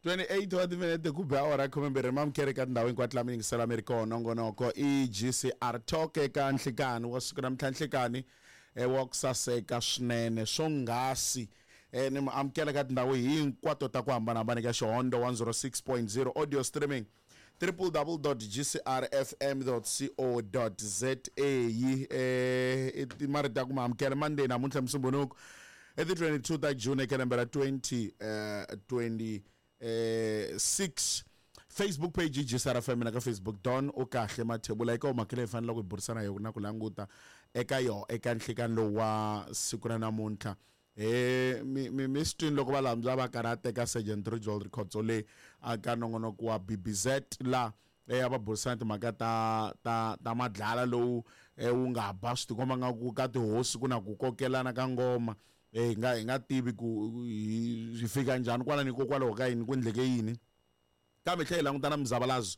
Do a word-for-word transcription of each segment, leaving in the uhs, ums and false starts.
twenty-eight wa timinete ku ba awara khumembirhi mamukhere ka tindhawu hinkwato laha mi yingisela mi ri kona nongonoko i G C R Talk eka nhlikani wa siku namuntlha nhlikani wa ku saseka swinene swonghasi eh ni amukela ka tindhawu hinkwato ta ku hambanahambana eka Xihondo one oh six point zero audio streaming triple w dot g c r f m dot co dot z a eh i marito ya ku ma amukela Monday namuntlha Musumbhunuku i ti twenty-two ta June eka lembe ra twenty twenty six. Facebook page G C R F M na ka Facebook Don u kahle Mathebula eka mhaka leyi faneleke ku burisana yona na ku languta eka yo eka nhlikani lowu wa siku ra namuntlha. Eh mi mi mi swi twini loko va lambya va karhi teka Sergeant Rijol Rikhotso le aka nongonoko wa B B Z la eh va burisana timhaka ta ta ta madlala lowu wu nga ba swi tikomba nga ku ka tihosi ku na ku kokelana ka ngoma eh hi nga hi nga tivi ku hi fika njhani kwalani hikokwalaho ka yini ku endleke yini kambe tlhela hi langutana muzavalazo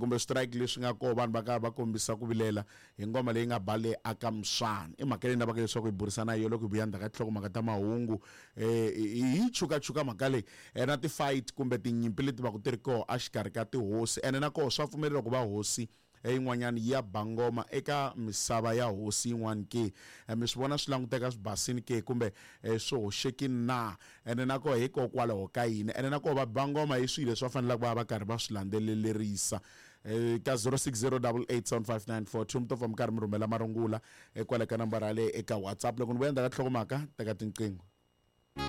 kumbe strike leswi nga koho vanhu va karhi va kombisa ku vilela hi ngoma leyi nga ba le aka Mswana i mhaka leyi lavaka leswaku hi burisana yo loko hi vuya ndzhaku ka tinhlokomhaka ta mahungu eh hi chukachuka mhaka leyi na ti-fight kumbe tinyimpi leti va ku ti ri koho exikarhi ka tihosi ene na koho swa pfumeleriwa ku va hosi yin'wanyana ya ba ngoma eka misava ya hosi yin'wana ke mi swi vona swi languteka swi basini ke kumbe swi hoxekini na ene na koho hikokwalaho ka yini ene na koho va ba ngoma hi swilo leswi va faneleke va va karhi va swi landzelelerisa ka zero six zero eight eight seven five nine four two mi to pfa mi karhi mi rhumela marungula kwale ka nambara yaleyo eka WhatsApp loko ni vuya ndzhaku ka nhlokomhaka teka tinqingho.